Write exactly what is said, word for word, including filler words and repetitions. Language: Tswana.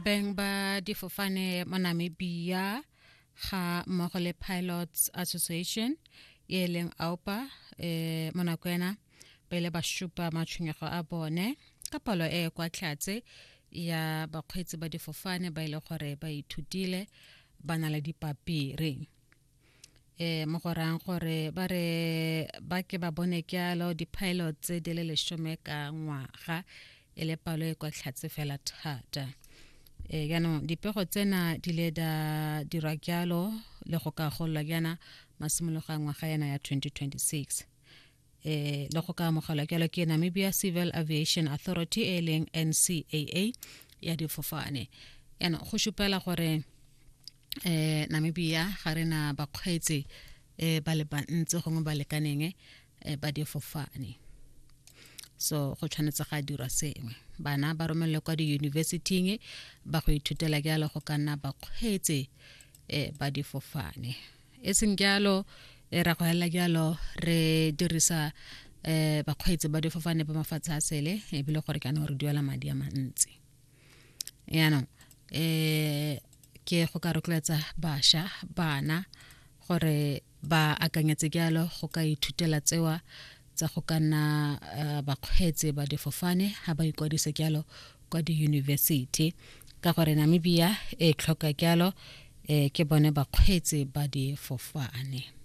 Beng ba difofane mo Namibia ga mmogo le Pilots Association e leng A U P A eh mo nako ena ba ile ba supa matshwenyego a bone ka palo e e kwa tlhatse ya bakgweetsi ba difofane ba ile gore ba ithutile, ba na le dipapiri, eh mo go rayang gore ba re ba ke ba bone kyalo di-pilot tse di le lesome ka ngwaga, e le palo e kwa tlhatse fela thata. E jaanong dipego tsena di le da dirwa jalo le go ka gololwa jaana masimologo a ngwaga yana ya twenty twenty-six, eh le go ka amogelwa jalo ke Namibia Civil Aviation Authority e leng N C A A ya difofane. Jaanong go supela gore eh Namibia ga re na bakgweetsi eh ba le bantsi gongwe ba lekaneng eh, ba difofane, so go tshwanetse ga dirwa sengwe, bana ba romelele kwa diyunibesithing ba go ithutela jalo go ka nna bakgweetsi eh, ba difofane. E seng jalo e ra go helela jalo re dirisa eh bakgweetsi ba difofane ba mafatshe a sele, ebile gore kana re duela madi a mantsi. Yaanong eh ke go ka rotloetsa bašwa, bana, gore ba akanyetse jalo go ka ithutela tsewa tsa go ka nna uh, bakgweetsi ba difofane, ga ba ikwadise jalo kwa diyunibesithi, ka gore Namibia e tlhoka jalo eh ke bone bakgweetsi ba difofane.